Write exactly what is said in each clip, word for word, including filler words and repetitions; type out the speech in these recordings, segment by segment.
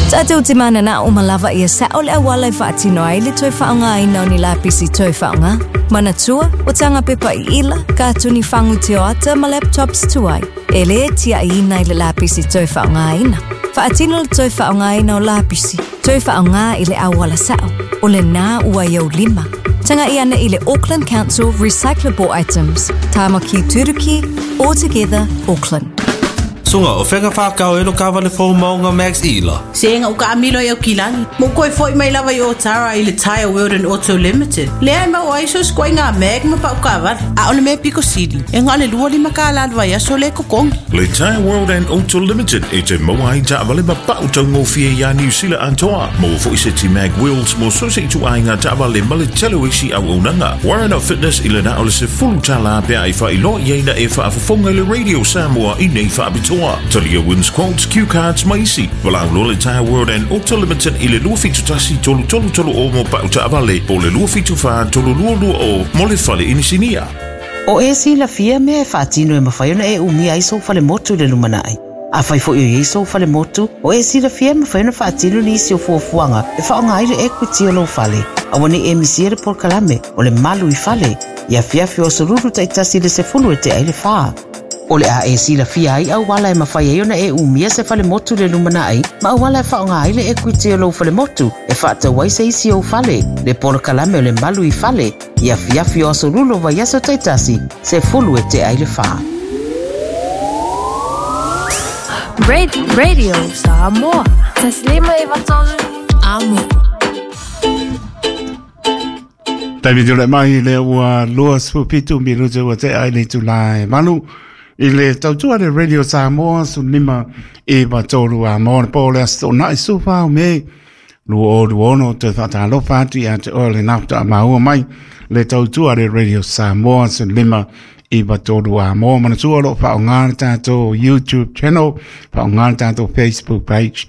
Tatou te mananao ma lava ia sa'o le auala e faatino ai le toe faaaogaina o ni lapisi toe faaaoga. Manatua, o taga pepa iila, katuni fagu tioata ma laptops tuai. E lē tia'iina i le lapisi toe faaaogaina. Faatino le toe faaaogaina o lapisi. Toe faaaoga i le auala sa'o. O lenā ua i ou lima. Taga'i ane i le Auckland Council Recyclable Items. Tāmaki Turuki, All Together, Auckland. Suga, o fea na whākau e lo kawale fō maunga Max Ila. Se nga uka amilo i au kilagi. Mo koe foi mai lava i o tara i le Tire World and Auto Limited. Lea e mau ai so skoe ngā mag ma pau kawale. A o le mea piko sili. E ngā le lua lima ka la vai aso le kokongi. Le Tire World and Auto Limited e te maua ai taavale ma pau taugofie ia Niu Sila atoa. Maua foi seti mag wheels mo so se itu ai ngā taavale ma le tele o isi auaunaga. Warren Fitness i le na o le sefulu tālā pea i whailoa ia ina e whaafofonga i le Radio Samoa i nei whaapitoa. Talia wins quotes, cue cards ma isi. Walau lo le Tire World and Auto Limited i le lua fitu tasi tolu tolu tolu o mo pau taavale po le lua fitu wha tolu lua lua o mo le fale inisinia. O e silafia mea e faatino e mafai ona e umia ai sou falemotu i le lumanai. Afai foi o i ai sou falemotu, o e silafia e mafai ona faatino nisi o fuafuaga e faaaoga ai le equity o lou fale. Aua nei e misia le polokalame o le malu i fale, i afiafi o asolulu taitasi i le sefulu e tea i le fa. O le a e silafia ai auala e mafai ai ona e umia se falemotu i le lumanai, ma auala e faaaoga ai le equity o lou falemotu e faatau ai se isi ou fale, le polokalame o le malu i fale, i afiafi o asolulu o vaiaso taitasi, sefulu e tea i le fa. Radio Samoa. Taslima e vatolu. Amo. Taimi tule mai le ua lua sefulufitu minute ua tea i le itulā e valu i le tautua le Radio Samoa sefululima iva tolu a mo le po le aso toonai sefulufa o Me lua o lua ono toe faatalofa atu ia te oe lenā faatoa maua mai le tautua le Radio Samoa sefululima iva tolu a mo. Manatua o loo faaaoga le tatou YouTube channel, faaaoga le tatou Facebook page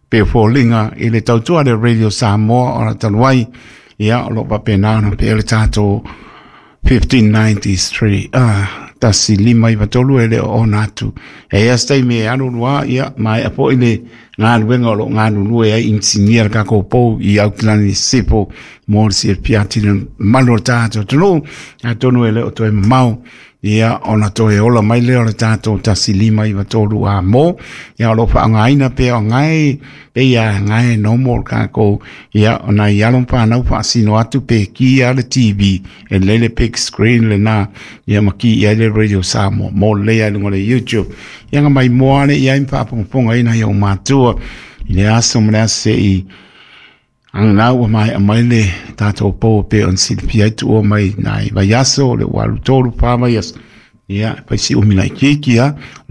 pe foliga i le tautua le Radio Samoa o la talu ai ia o loo faapena ona pea le tatou fifteen ninety-three ah tasi lima iva tolu e le o ona atu. E ia se taimi e alu lua ia maea foi le galuega o loo galulue ai inisinia le kakou pou i Aukilani Sisifo mo le silafia atili mamalu o le tatou atunuu. Atonu e le o toe mamao ia ona toe ola mai lea o le tatou tasi lima iva tolu a mo ia o loo faaaogaina pea o gae pe ia gae nomo o le kakou ia ona i alo ma fanau faasino atu pe ki a le T V e lelei le big screen lenā ia ma ki i ai le Radio Samoa mo lelei ai luga o le YouTube ia ga maimoa le iai ma faafogafogaina i ou matua i le aso ma le aso se'i aganau ua maea mai le tatou pou pe ona silafia ai tuua mai nai vaiaso o le ua alu tolu fa vaiaso ia fai si umi laitiiti a